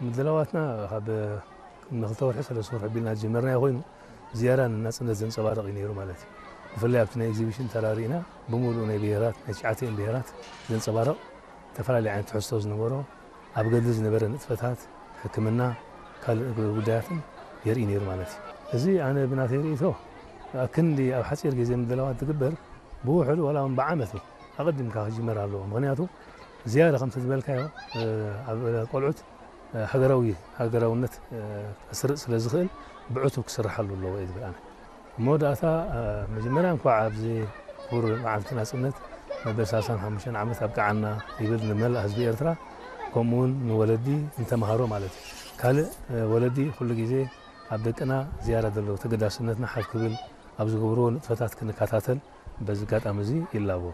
ምድላዋትና ካብ ንክልተ ወርሒ ሰለስተ ወርሒ ቢልና ዝጀመርናዮ ኮይኑ ዝያዳ ንናጽነት ዘንጸባርቕ እዩ ነይሩ ማለት እዩ። ብፍላይ ኣብቲ ናይ ኤግዚቢሽን ተራሪእና ብምሉእ ናይ ብሄራት ናይ ትሽዓተን ብሄራት ዘንጸባርቕ ዝተፈላለዩ ዓይነት ትሕዝቶ ዝነበሮ ኣብ ገድሊ ዝነበረ ንጥፈታት ሕክምና ካልእ ጉዳያትን የርኢ ነይሩ ማለት እዩ። እዚ ኣነ ብናተይ ርእቶ ኣክንዲ ኣብ ሓፂር ግዜ ምድላዋት ትግበር ብውሕዱ ዋላ እውን ብዓመት ኣቐዲምካ ክጅመር ኣለዎ። ምክንያቱ ዝያዳ ከምቲ ዝበልካዮ ኣብ ቆልዑት ሃገራዊ ሃገራውነት ከስርጽ ስለ ዝኽእል ብዕቱብ ክስርሓሉ ኣለዎ እየ ዝብል ኣነ። መወዳእታ መጀመርያ እንኳዕ ኣብዚ ክቡር መዓልቲ ናጽነት መበል ሰላሳን ሓሙሽተን ዓመት ኣብቅዓና ይብል ንመላእ ህዝቢ ኤርትራ፣ ከምኡ እውን ንወለዲ ንተምሃሮ ማለት እዩ። ካልእ ወለዲ ኩሉ ግዜ ኣብ ደቅና ዝያዳ ዘለዎ ተገዳስነትና ሓፍ ክብል ኣብ ዝገብርዎ ንጥፈታት ክንከታተል በዚ ኣጋጣሚ እዚ ይላቦ።